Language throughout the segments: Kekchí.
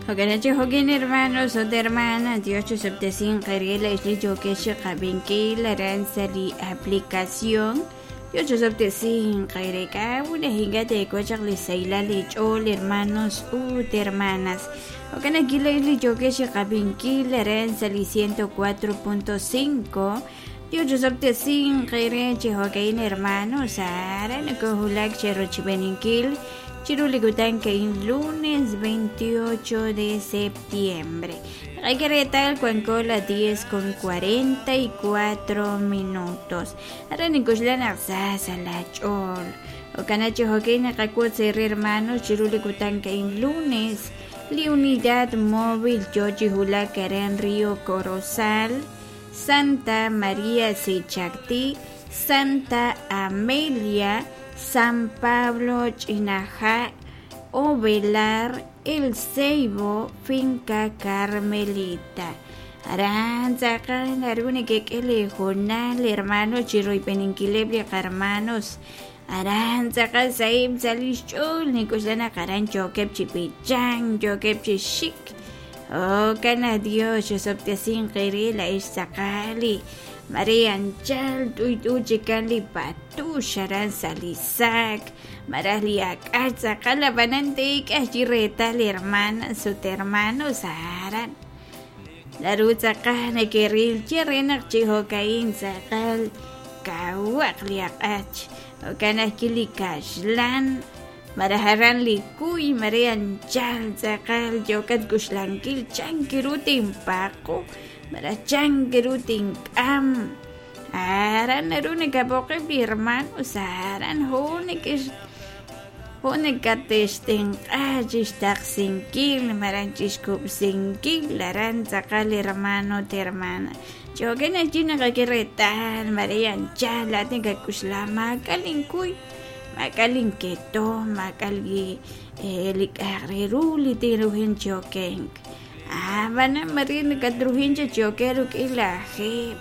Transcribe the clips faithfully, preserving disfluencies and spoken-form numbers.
Jo'kan jo'kin hermanos ut hermanas, Dios chusub'tesin qeril li yokex qab'inkil aran sa' li aplicación. Dios chusub'tesin qereka una hinga teekochaq li saylal li ch'ool hermanos ut hermanas. Jo'kan aquí li yokex qab'inkil aran sa' li ciento cuatro punto cinco. Dios chusub'tesin qere chi jo'kin hermanos aran kohulak cherochb'eninkil Chiruligutan que lunes veintiocho de septiembre. Hay que retal cuancola diez con cuarenta y cuatro minutos. Ahora ni kushlan sasa la chol. O canacho hockey nakakuot hermanos Chiruligutan que lunes. Li unidad móvil Yochi Hulacaren Río Corozal, Santa María Sichactí, Santa Amelia, San Pablo, Chinajá, Ovelar, El Ceibo, Finca Carmelita. Aranza, Narune que le jonal, hermano, Chiro y Peninquilebria, hermanos. Aranza, Saib, Salichul, Nicoslana, Carancho, Kepchi, Pichan, Yo, Kepchi, Chic. Oh, cana Dios, yo sin la Isacali. María Anchal, tuy tuy chican li patu, sharan salisac, marali acaza, cala banante, retal hermana, su hermano, saran. La ruta cana que ril, cherena, chihocaín, sacal, kawak liakach, o canakili kashlan, maraharan likuy, María Anchal, sacal, yocat kushlanquil, chanquirutin paco. Marachanguerutin am aran arune kapoke hermano saran honek honekatesten achistaxinkil maranchishkupsinkil aran tzakal hermano te hermana choken china kakiretal marian chala tenga kushla makalinkuy makalinketo makalgi elikagriruli tiruhin chokenk. Ah, van a morir catrujín choquero que la je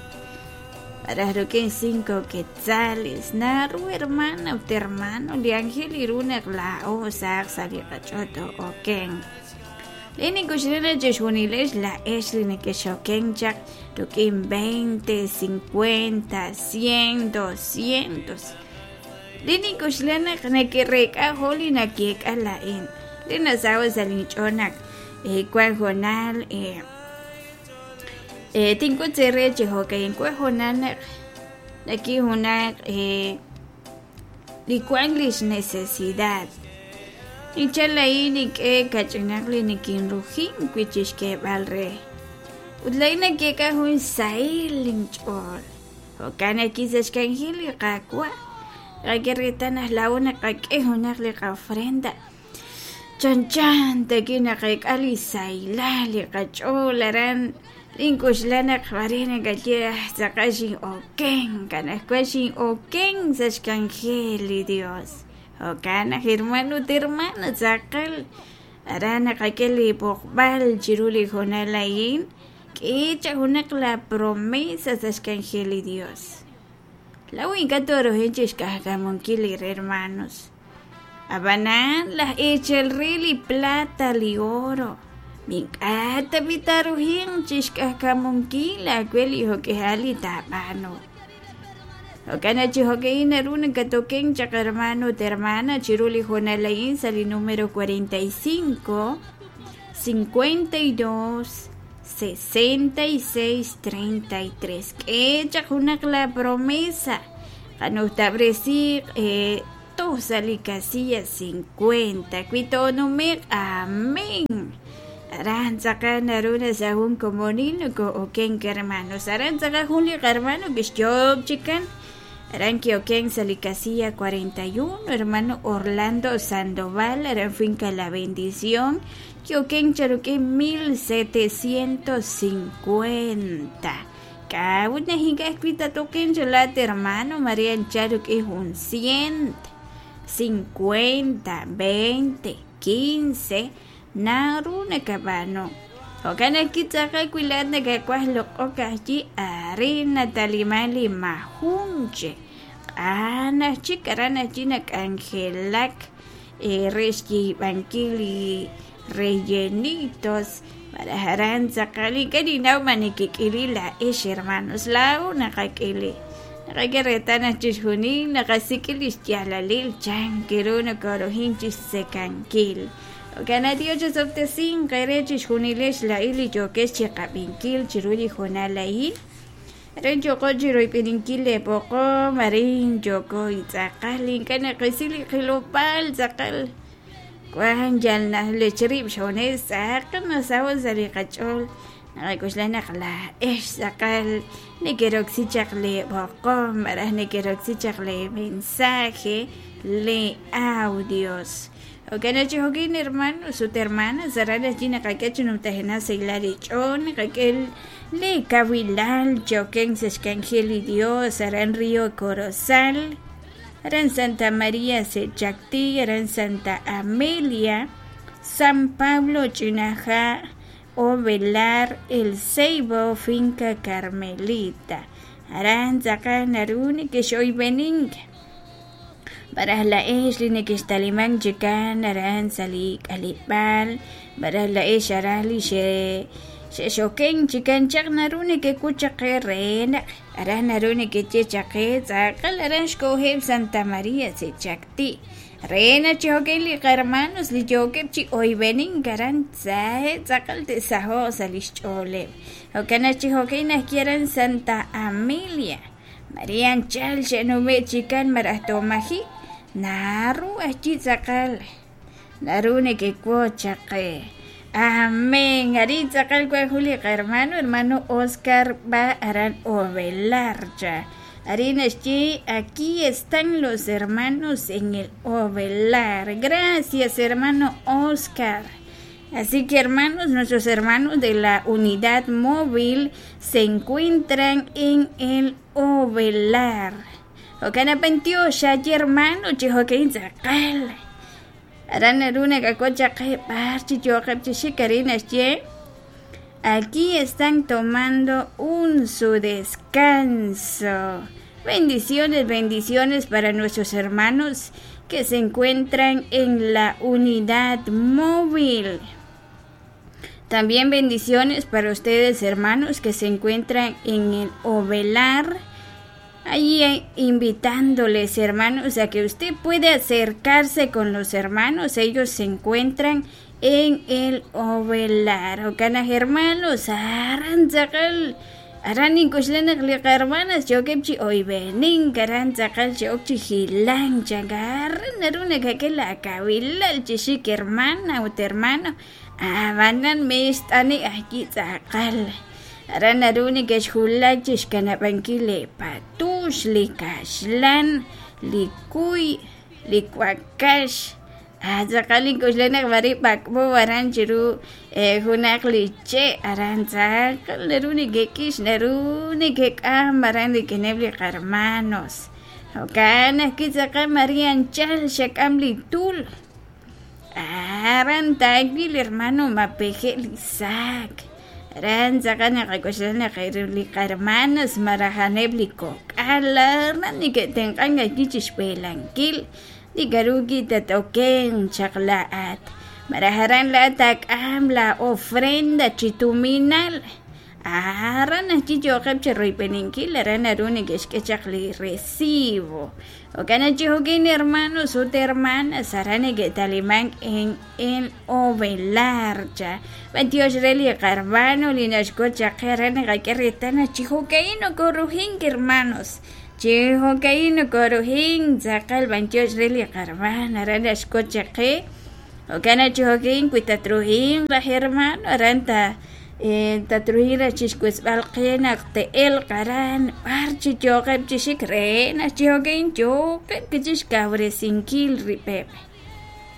para roquen cinco quetzales naru hermana u hermano le ángel iruna la o sac salicachoto oken leni kushina cheshuniles la esline que choquen chak roquen veinte cincuenta cien doscientos leni kushina que reca holina que la en lena sawa salinchonak eh cual jonal eh eh tinko tserre hockey en cual jonal aquí una eh licuanglis necesidad ni chalai ni que cachinagli ni kinrujin kuichishke balre utlaina que ka jun sail chol hokana kisashkanjili qaqwa qaquirritanas la una qaq'e junaqli qafrenda Chan chan tekina qek'ali saylali qach'ularan linkushlana qharina kachira saqashin oken kanaskuashin oken sashkanjeli Dios okana hermano te hermana saqal arana qakeli poqbal chiruli jonalayin k'icha junaq la promesa sashkanjeli Dios la winka toro henchis hermanos Abanan las echelrili plata li oro. Minkata bitaruhin chishkakamunkila kweli hokehali tapano. Okana chihokeina runa katoken chakarmano termana chiruli jonalain sali número cuarenta y cinco, cincuenta y dos, sesenta y seis, treinta y tres. Que chajunak la promesa. Kanustabresi eh Tosali casilla cincuenta. Cuito numer amén. Aranza naruna sahun comonino ko oken hermanos. Aranza juli hermano que yo chican. Aranqui oken sali casilla cuarenta y uno. Hermano Orlando Sandoval. Aran finca la bendición. Que oken charuque mil setecientos cincuenta. Una hinga escrita toquen cholate hermano María Charuque es un cien. Cincuenta, veinte, quince, naruna cabano. Okana kitaka kuilana kakuas lo okachi arena talimali majunche. Ana chicarana china cangelak. re xyiib'ankil li rellenitos malaj aran tz'aqal ink'a' ninnaw ma nekek'ili laa'ex hermanos laa'o naqak'ili naqak'e reetal naq chixjunil naqasik'i li xyaalalil chan ru nokoruhin chixtzekankil. Jo'kan Dios chisob'tesinq eere chixjunilex laa'in li yookex chiqab'inkil chiru li hoonal a'in. Arin yooko chiroyb'eninkil leeboqom, arin yooko tz'aqal ink'a' naqisi li qilob'aal tz'aqal wan yal najlech rib' xjunes tz'aqal nasaho' sa' li qach'ool naqak'oxla naq laa'ex tz'aqal nekeroksi chaq leeboqom malaj nekeroksi chaq le mensaje le audios. Jo'kan chi jo'kin hermanos ut hermanas aran allí naqak'e chi numtajenaq sa' li ch'ool naqak'e le kawilal choken sa' xk'anjel li Dios aran Río Corozal, aran Santa María Sechactí, aran Santa Amelia, San Pablo Ch'inaja, Ovelar, El Ceibo, Finca Carmelita. Aran tz'aqal naru nekexoyb'enink baraj la'ex li nekextaliman chikan aran sa' li k'aleb'aal baraj la'ex aran li xe xe'xoken chikan chaq naru nekekut chaq qe re naq aran naru nekeye chaq qe tz'aqal aran xkoheb' Santa María Sechactí re naq chijo'kin li qahermanos li yookeb' chi oyb'enink aran tzahe tz'aqal te'saho'q sa' li xch'ooleb'. Jo'kan naq chijo'kin najki aran Santa Amelia María anchal xe'nume' chikan maraj tomaji naru ajchi tz'aqal naru nekekut chaq qe. Amén. Arin tz'aqal wan jun li qahermano hermano Oscar va aran Ovelar cha. Arin naxye aquí están los hermanos en el Ovelar. Gracias, hermano Oscar. Así que hermanos, nuestros hermanos de la unidad móvil se encuentran en el Ovelar. Jo'kan apantiox hermano chijo'kin tz'aqal. Aran naru nakak'ut chaq qe b'ar chi yookeb' chi xik arin naxye aquí están tomando un su descanso. Bendiciones, bendiciones para nuestros hermanos que se encuentran en la unidad móvil. También bendiciones para ustedes, hermanos, que se encuentran en el Ovelar. Ahí invitándoles, hermanos, a que usted puede acercarse con los hermanos. Ellos se encuentran en el Ovelar. Jo'kan hermanos, aran tz'aqal aran ink'uxlan naq li qahermanas yookeb' chi oyb'enink aran tz'aqal chi'ok chi jilank aran naru nakak'e la kawilal chi xik hermana ut hermano abanan mixt'ani ajki tz'aqal aran naru nekexjulak chi xkanab'ankil li patux li kaxlan li kuy li wakax tz'aqal ink'uxlan naq b'ari b'ak'b'o aran chiru junaq li che' aran tz'aqal naru nekek'ix naru nekek'am aran rik'ineb' li qahermanos. Jo'kan ajwi' tz'aqal María anchal xak'am li tul aran taak'il hermano mapeje' li saak aran tz'aqal naqak'oxla naq li qahermanos maraj a'aneb' li kok'al aran neke'tenq'ank ajwi' chixb'elankil li k'aru tat'oken chaq la'at maraj aran la'at taak'am la ofrenda chi tuminal aran ajwi' yookeb' chiroyb'eninkil aran naru neke'xk'e chaq li recibo. Jo'kan naq chi jo'kin hermanos ut hermanas aran neke'talimank en el Ovelar cha. B'antiox re li qahermano li naxk'ut chaq qe aran naqak'e reetal naq chi jo'ka'in nokorujink hermanos chi jo'ka'in nokorujink tz'aqal b'antiox re li qahermano aran naxk'ut chaq qe. Jo'kan naq chi jo'kin wi tatrujink laj hermano aran ta tatruhin raj chixk'utzb'al qe naq te'elq aran b'ar chi yookeb' chi xik re naq chi jo'kin yookeb' kichixkawresinkil rib'eb'.